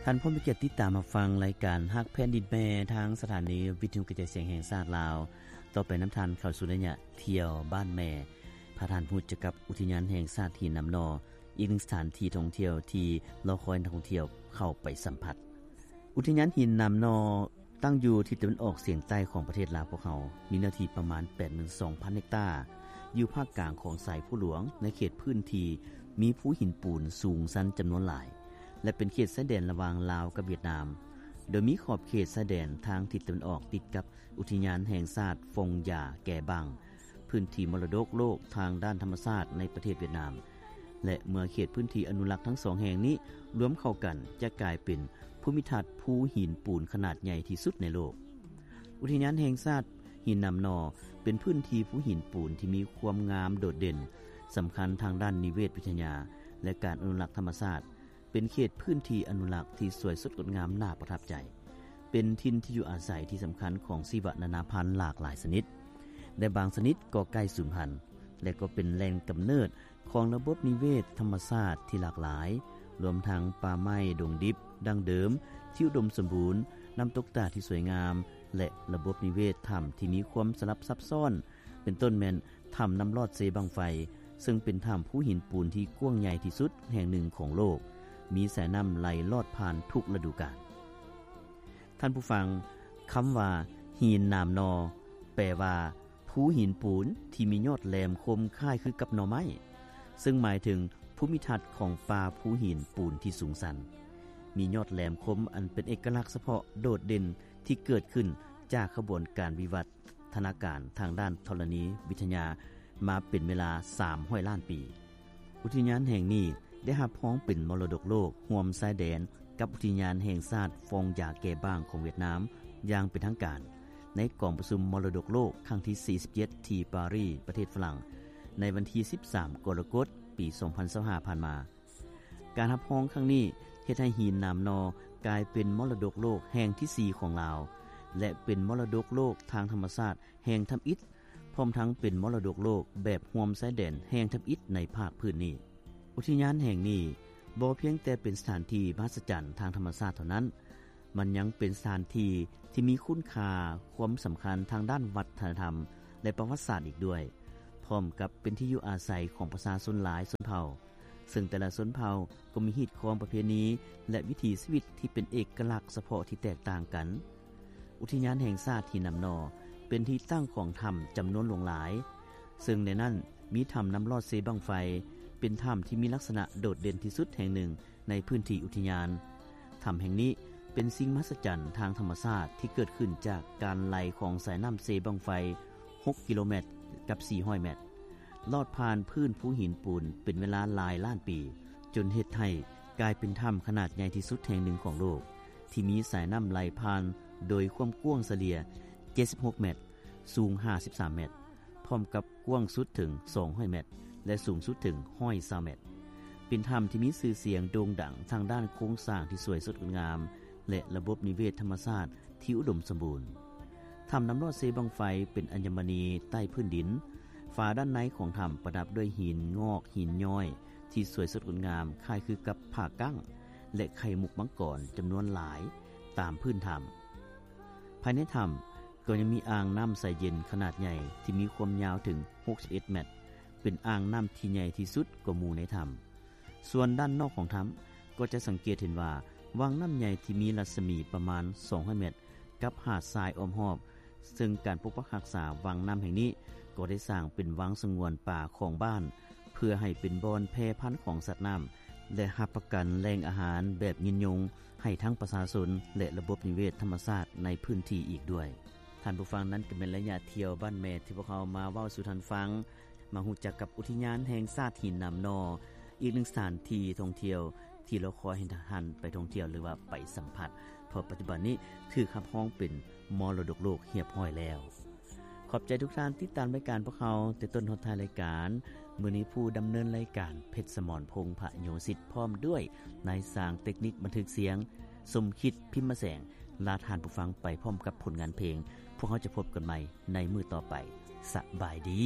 ທ່ານຜູ້ມີກຽດຕິດຕາມຮັບຟັງລາຍການຮັກແຜ່ນດິນແມ່ ທາງສະຖານີວິທະຍຸກະຈາຍສຽງແຫ່ງຊາດລາວ. ຕໍ່ໄປນຳທ່ານເຂົ້າສູ່ໄລຍະທ່ຽວບ້ານແມ່. ພາທ່ານຮູ້ຈັກກັບອຸທິຍານແຫ່ງຊາດຫີນໜາມໜໍ່, ອີກໜຶ່ງສະຖານທີ່ທ່ອງທ່ຽວທີ່ລໍຄອຍນັກທ່ອງທ່ຽວເຂົ້າໄປສຳຜັດ. ອຸທິຍານຫີນໜາມໜໍ່ ຕັ້ງຢູ່ທິດຕາເວັນອອກສຽງໃຕ້ຂອງປະເທດລາວພວກເຮົາ, ມີເນື້ອທີ່ປະມານ ແປດໝື່ນສອງພັນ ເຮັກຕາ, ຢູ່ພາກກາງຂອງສາຍພູຫຼວງ, ໃນເຂດພື້ນທີ່ມີພູຫີນປູນສູງຊັນຈຳນວນຫຼາຍ ແລະ ເປັນເຂດຊາຍແດນລະຫວ່າງລາວກັບຫວຽດນາມ, ໂດຍມີຂອບເຂດຊາຍແດນທາງທິດຕາເວັນອອກຕິດກັບອຸທິຍານແຫ່ງຊາດຟອງຢາແກບັງ, ພື້ນທີ່ມໍລະດົກໂລກທາງດ້ານທຳມະຊາດໃນປະເທດຫວຽດນາມ. ແລະ ເມື່ອເຂດພື້ນທີ່ອະນຸລັກທັງສອງແຫ່ງນີ້ລວມເຂົ້າກັນ ຈະກາຍເປັນພູມິທັດພູຫີນປູນຂະໜາດໃຫຍ່ທີ່ສຸດໃນໂລກ. ອຸທິຍານແຫ່ງຊາດຫີນໜາມໜໍ່ ເປັນພື້ນທີ່ພູຫີນປູນທີ່ມີຄວາມງາມໂດດເດັ່ນ, ສຳຄັນທາງດ້ານນິເວດວິທະຍາ ແລະ ການອະນຸລັກທຳມະຊາດ, ເປັນເຂດພື້ນທີ່ອະນຸລັກທີ່ສວຍສົດງົດງາມໜ້າປະທັບໃຈ, ເປັນຖິ່ນທີ່ຢູ່ອາໄສທີ່ສຳຄັນຂອງຊີວະນານາພັນຫຼາກຫຼາຍຊະນິດ ແລະ ບາງຊະນິດກໍໃກ້ສູນພັນ ແລະ ກໍເປັນແຫຼ່ງກຳເນີດຂອງລະບົບນິເວດທຳມະຊາດທີ່ຫຼາກຫຼາຍ, ລວມທັງປ່າໄມ້ດົງດິບດັ້ງເດີມທີ່ອຸດົມສົມບູນ, ນ້ຳຕົກຕາດທີ່ສວຍງາມ ແລະ ລະບົບນິເວດຖ້ຳທີ່ມີຄວາມສະຫຼັບຊັບຊ້ອນ, ເປັນຕົ້ນແມ່ນຖ້ຳນ້ຳລອດເຊບັ້ງໄຟ, ເຊິ່ງເປັນຖ້ຳພູຫີນປູນທີ່ກວ້າງໃຫຍ່ທີ່ສຸດແຫ່ງໜຶ່ງຂອງໂລກ, ມີສາຍນ້ຳໄຫຼລອດຜ່ານທຸກລະດູການ. ທ່ານຜູ້ຟັງ, ຄຳວ່າຫີນໜາມໜໍ່ ແປວ່າ ພູຫີນປູນທີ່ມີຍອດແຫຼມຄົມຄ້າຍຄືກັບໜໍ່ໄມ້, ເຊິ່ງໝາຍເຖິງພູມິທັດຂອງປ່າພູຫີນປູນທີ່ສູງຊັນ, ມີຍອດແຫຼມຄົມອັນເປັນເອກະລັກສະເພາະໂດດເດັ່ນທີ່ເກີດຂຶ້ນຈາກຂະບວນການວິວັດທະນາການທາງດ້ານທໍລະນີວິທະຍາມາເປັນເວລາສາມຮ້ອຍລ້ານປີ. ອຸທິຍານແຫ່ງນີ້ໄດ້ຮັບຮອງເປັນມໍລະດົກໂລກຮ່ວມຊາຍແດນກັບອຸທິຍານແຫ່ງຊາດຟອງຢາແກບາງຂອງຫວຽດນາມຢ່າງເປັນທາງການ ໃນກອງປະຊຸມມໍລະດົກໂລກຄັ້ງທີສີ່ສິບເຈັດ ທີ່ປາຣີ ປະເທດຝຣັ່ງ ໃນວັນທີສິບສາມ ກໍລະກົດ ປີສອງພັນຊາວຫ້າ ຜ່ານມາ. ການຮັບຮອງຄັ້ງນີ້ເຮັດໃຫ້ຫີນໜາມໜໍ່ກາຍເປັນມໍລະດົກໂລກແຫ່ງທີສີ່ຂອງລາວ ແລະ ເປັນມໍລະດົກໂລກທາງທຳມະຊາດແຫ່ງທຳອິດ ພ້ອມທັງເປັນມໍລະດົກໂລກແບບຮ່ວມຊາຍແດນແຫ່ງທຳອິດໃນພາກພື້ນນີ້. ອຸທິຍານແຫ່ງນີ້ບໍ່ພຽງແຕ່ເປັນສະຖານທີ່ມະຫັດສະຈັນທາງທຳມະຊາດເທົ່ານັ້ນ, ມັນຍັງເປັນສະຖານທີ່ທີ່ມີຄຸນຄ່າ, ຄວາມສຳຄັນທາງດ້ານວັດທະນະທຳ ແລະ ປະຫວັດສາດອີກດ້ວຍ, ພ້ອມກັບເປັນທີ່ຢູ່ອາໄສຂອງປະຊາຊົນຫຼາຍຊົນເຜົ່າ, ເຊິ່ງແຕ່ລະຊົນເຜົ່າກໍມີຮີດຄອງປະເພນີ ແລະ ວິຖີຊີວິດທີ່ເປັນເອກະລັກສະເພາະທີ່ແຕກຕ່າງກັນ. ອຸທິຍານແຫ່ງຊາດຫີນໜາມໜໍ່ ເປັນທີ່ຕັ້ງຂອງຖ້ຳຈຳນວນຫຼວງຫຼາຍ, ເຊິ່ງໃນນັ້ນມີຖ້ຳນ້ຳລອດເຊບັ້ງໄຟ, ເປັນຖ້ຳທີ່ມີລັກສະນະໂດດເດັ່ນທີ່ສຸດແຫ່ງໜຶ່ງ ໃນພື້ນທີ່ອຸທິຍານ. ຖ້ຳແຫ່ງນີ້ເປັນສິ່ງມະຫັດສະຈັນທາງທຳມະຊາດທີ່ເກີດຂຶ້ນຈາກການໄຫຼຂອງສາຍນ້ຳເຊບັ້ງໄຟ ຫົກກິໂລແມັດກັບສີ່ຮ້ອຍແມັດ, ລອດຜ່ານພື້ນພູຫີນປູນເປັນເວລາຫຼາຍລ້ານປີ, ຈົນເຮັດໃຫ້ກາຍເປັນຖ້ຳຂະໜາດໃຫຍ່ທີ່ສຸດແຫ່ງໜຶ່ງຂອງໂລກ, ທີ່ມີສາຍນ້ຳໄຫຼຜ່ານໂດຍຄວາມກວ້າງສະເລ່ຍເຈັດສິບຫົກແມັດ, ສູງຫ້າສິບສາມແມັດ, ພ້ອມກັບກວ້າງສຸດເຖິງສອງຮ້ອຍແມັດ ແລະ ສູງສຸດເຖິງຮ້ອຍຊາວແມັດ. ເປັນຖ້ຳທີ່ມີຊື່ສຽງໂດ່ງດັງທາງດ້ານໂຄງສ້າງທີ່ສວຍສົດງົດງາມ ແລະ ລະບົບນິເວດທຳມະຊາດທີ່ອຸດົມສົມບູນ. ຖ້ຳນ້ຳລອດເຊບັ້ງໄຟເປັນອັນຍະມະນີໃຕ້ພື້ນດິນ. ຝາດ້ານໃນຂອງຖ້ຳປະດັບດ້ວຍຫີນງອກ, ຫີນຍ້ອຍທີ່ສວຍສົດງົດງາມຄ້າຍຄືກັບຜ້າກັ້ງ ແລະ ໄຂ່ມຸກມັງກອນຈຳນວນຫຼາຍຕາມພື້ນຖ້ຳ. ພາຍໃນຖ້ຳກໍຍັງມີອ່າງນ້ຳໃສເຢັນຂະໜາດໃຫຍ່ທີ່ມີຄວາມຍາວເຖິງຫົກສິບເອັດແມັດ, ເປັນອ່າງນ້ຳທີ່ໃຫຍ່ທີ່ສຸດກວ່າໝູ່ໃນຖ້ຳ. ສ່ວນດ້ານນອກຂອງຖ້ຳກໍຈະສັງເກດເຫັນວ່າວັງນ້ຳໃຫຍ່ທີ່ມີລັດສະໝີປະມານສອງຮ້ອຍແມັດ ກັບຫາດຊາຍອ້ອມຮອບ, ເຊິ່ງການປົກປັກຮັກສາວັງນ້ຳແຫ່ງນີ້ກໍໄດ້ສ້າງເປັນວັງສະຫງວນປ່າຂອງບ້ານ ເພື່ອໃຫ້ເປັນບ່ອນແຜ່ພັນຂອງສັດນ້ຳ ແລະ ຮັບປະກັນແຫຼ່ງອາຫານແບບຍືນຍົງໃຫ້ທັງປະຊາຊົນ ແລະ ລະບົບນິເວດທຳມະຊາດໃນພື້ນທີ່ອີກດ້ວຍ. ທ່ານຜູ້ຟັງ, ນັ້ນກໍແມ່ນໄລຍະທ່ຽວບ້ານແມ່ທີ່ພວກເຮົາມາເວົ້າສູ່ທ່ານຟັງ, ມາຮູ້ຈັກກັບອຸທິຍານແຫ່ງຊາດຫີນໜາມໜໍ່, ອີກໜຶ່ງສະຖານທີ່ທ່ອງທ່ຽວທີ່ລໍຄອຍໃຫ້ທ່ານໄປທ່ອງທ່ຽວ ຫຼືວ່າໄປສຳຜັດ, ເພາະປັດຈຸບັນນີ້ຖືກຮັບຮອງເປັນມໍລະດົກໂລກຮຽບຮ້ອຍແລ້ວ. ຂອບໃຈທຸກທ່ານຕິດຕາມລາຍການພວກເຮົາແຕ່ຕົ້ນຮອດທ້າຍລາຍການ. ມື້ນີ້ຜູ້ດຳເນີນລາຍການ ເພັດສະໝອນ ພົງພະໂຍສິດ ພ້ອມດ້ວຍນາຍຊ່າງເຕັກນິກບັນທຶກສຽງ ສົມຄິດ ພິມມະແສງ ລາທ່ານຜູ້ຟັງໄປພ້ອມກັບຜົນງານເພງ. ພວກເຮົາຈະພົບກັນໃໝ່ໃນມື້ຕໍ່ໄປ. ສະບາຍດີ.